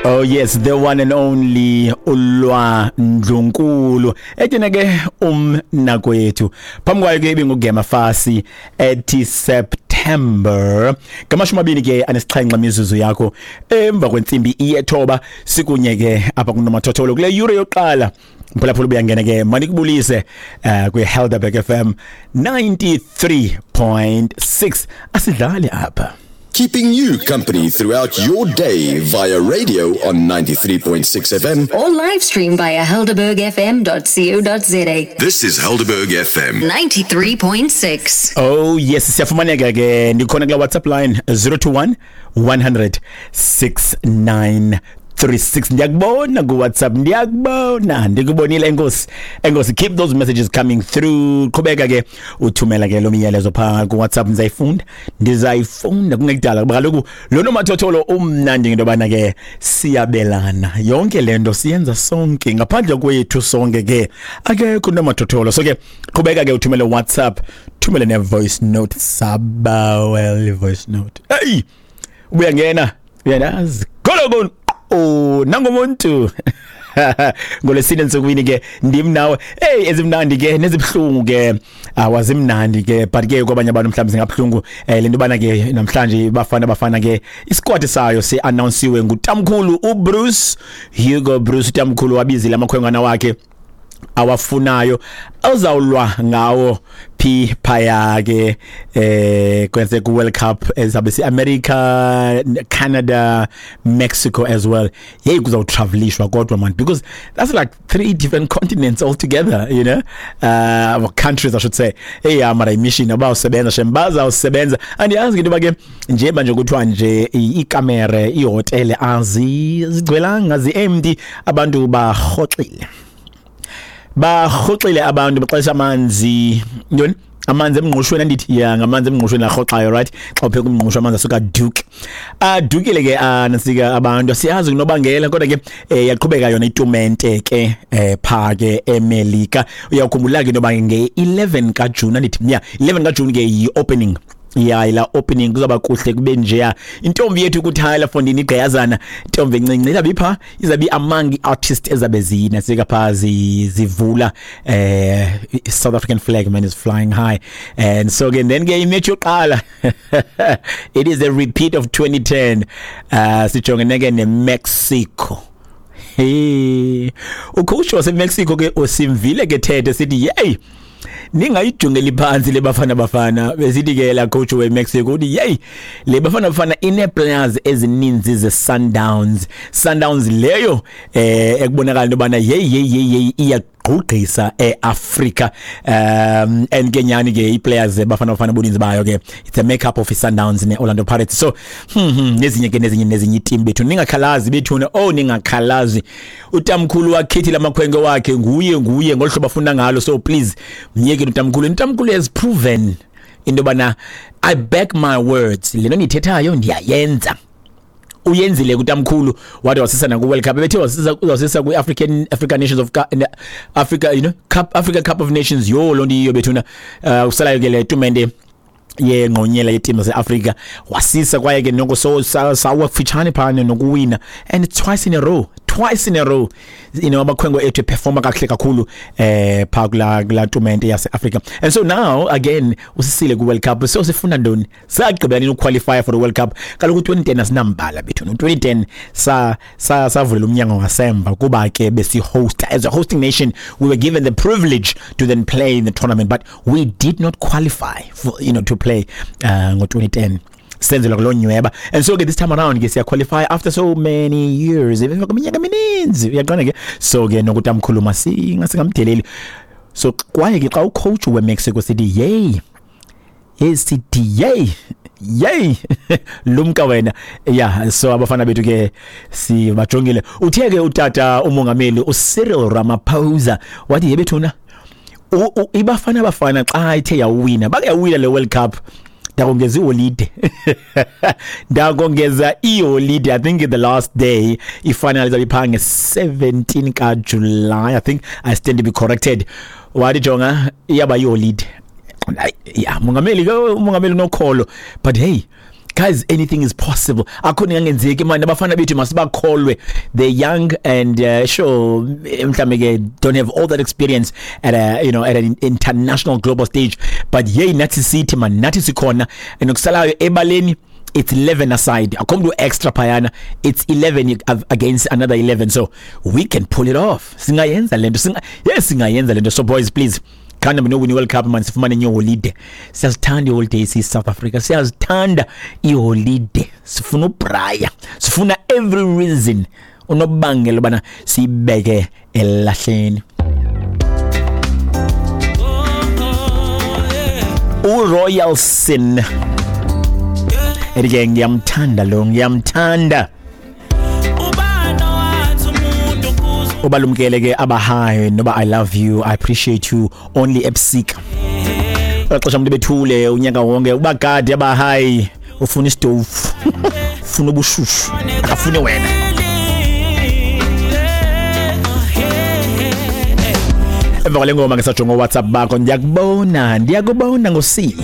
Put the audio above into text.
Oh yes, the one and only uLwa Ndlunkulu. Ethina ke umnakwethu. Phambi kwayo ke ibingugema fasi ethi September. 27 imizuzu yakho emva kwentsimbi iyethoba sikunye ke apha kunomathotholo kule yure yokuqala. Mphulaphula ubuyangena ke manikubulise kwi Helderberg FM 93.6 asidlali apha. Keeping you company throughout your day via radio on 93.6 FM. Or live stream via helderbergfm.co.za. This is Helderberg FM. 93.6. Oh yes, siyafumaneka ke ndikhona kula WhatsApp line 021 100 69 36. Ndiyakubona ku WhatsApp, ndiyakubona, ndikubonile. Enkosi, enkosi. Keep those messages coming through. Qhubeka ke uthumela ke lo myalezo pha ku WhatsApp, ndizayifunda, ndizayifunda kungekudala kuba kaloku lo nomathotholo umnandi ngento yobana ke siyabelana yonke le nto siyenza sonke, ngaphandle kwethu sonke ke akekho unomathotholo. So ke qhubeka ke uthumele WhatsApp, thumele ne voice note, sabawel voice note. Hey, ubuyangena uyandazi golokon oh nangomuntu ngolesine nsukwini ke ndim nawe. Hey, ezimnandi ke nezibuhlungu ke awazimnandi ke, but ke kwabanye abantu mhlawumbe zingabhlungu lento bana ke namhlanje bafana bafana ke isquad sayo se announcewe ngutamkhulu uBruce Hugo Bruce. Utamkhulu wabizile amakhwenkwana wakhe awafunayo azawulwa ngawo phi phaya ke kwenze ku World Cup ezabe si America, Canada, Mexico as well. Hey, kuzawutravelishwa kodwa man, because that's like three different continents all together, well, countries I should say. Hey, mara mission abawusebenza shem, bazawusebenza. Andiyazi ke into ke nje manje kuthiwa nje ikamere ihotele azigcwelanga, zi-empty, abantu barhoxile, barhoxile abantu baxesha amanzi ntoni, amanzi emngqushweni, andithi ya ngamanzi emngqushweni arhoxayo, right? Xa upheka umngqusho amanzi asuka aduke, adukile ke nasika abantu, siyazi kunobangela. Kodwa ke yaqhubeka yona itumente ke pha ke eMelika. Uyakhumbula ke intoba nge-11 kaJuni, andithi ya 11 kaJuni ke yi-opening ya ila opening, kuzaba kuhle kube njeya. Intombi yethu kuthayela fondini igqiyazana, intombi encinci izabe ipha, izabe among artists ezabe zinasika pha zivula South African flag, man, is flying high. And so again then ke imatch yokuqala, it is a repeat of 2010, sijongene ke neMexico. Hey, ucoach waseMexico ke usimvile ke thethe sithi hey, ningayijongeli phansi le Bafana Bafana. Besithi ke la coach weMexico uthi hey, le Bafana Bafana ine players ezininzi ze Sundowns, Sundowns leyo ekubonakala into bana hey hey hey hey iyagqugqisa eAfrica. And ke nyani ke iplayers Bafana Bafana buninzi bayo ke it's a makeup of Sundowns ne Orlando Pirates. So nezinye ke nezinye nezinye team bethu, ningakhalazi bethuna, oh ningakhalazi, utamkhulu wakhethile amakhwenkwe wakhe, nguye nguye ngolhlobo afuna ngalo. So please myeke utamkhulu, utamkhulu has proven into bana I back my words, lento ndiyithethayo ndiyayenza. Uyenzile kutamkhulu wade wasisa na ku World Cup, bethe wasisa uzawusisa ku African African Nations of Africa, you know, Cup, Africa Cup of Nations. Yo lo ndiyo bethuna, usalayo ke le tumente yengqonyela yetimu zaseAfrika wasisa kwaye ke noko so sawa kufitshane phana nokuwina, and it's twice in a row, twice in a row, you know, abakhwenkwe ethu performa kakuhle kakhulu pha kula tumente yaseAfrika. And so now again usisile ku World Cup. So sifuna ntoni? Sagqibela nini uqualify for the World Cup? Kaloku 2010 asinambala bethu. No 2010 sa sa savulela umnyango ngasemva kuba ke besi host. As a hosting nation we were given the privilege to then play in the tournament, but we did not qualify for, you know, to play ngo 2010 senzelwa kuloo nyweba. And so ke this time around ke siya qualify after so many years, emva kweminyaka emininzi, uyaqonda ke. So ke nokutamkhulu masingamdeleli. So kwaye ke xa ucoach weMexico sithi yey, esithi yey yey, lumka wena. Yeah, so abafana bethu ke sibajongile. Uthe ke utata umongameli uCyril Ramaphosa wathi yebethuna ibafana bafana xa ithe yawina, bake yawina le World Cup, ndakongeza iholide, ndakongeza iholide. I think the last day ifinal izabe ipha nge-17 kaJuly, I think, I stand to be corrected. Wathi jonga iyaba iholide. Ya mongameli ke, umongameli unokholo, but hey. Guys, anything is possible. Akho ningangenzeki manje, abafana bethu masibakholwe. They're young and sure, mhlambe ke don't have all that experience at a you know at an international global stage, but yey, nathi sithi man, nathi sikhona. Nokusalayo ebaleni, it's 11 aside, akho mntu extra phayana. It's 11 against another 11, so we can pull it off. Singayenza lento, singa yes, singayenza lento. So boys, please, khanda nowin World Cup man, sifumane enye holiday. Siyazithanda iholiday, si South Africa siyazithanda iholiday. Sifuna ubraya, sifuna every reason, unobangela ubana siyibeke elahleni. URoyal Sin ethi ngiyamthanda lo, ngiyamthanda. Ubalumkele ke abahayi noba "I love you, I appreciate you" only ebusika. Xesha umuntu bethule unyaka wonke, ubagadi abahayi, ufuna isitofu, ufuna ubushushu, akafuni wena. Emva kwale ngoma ke sajonga WhatsApp bakho. Ndiyakubona, ndiyakubona ngosi.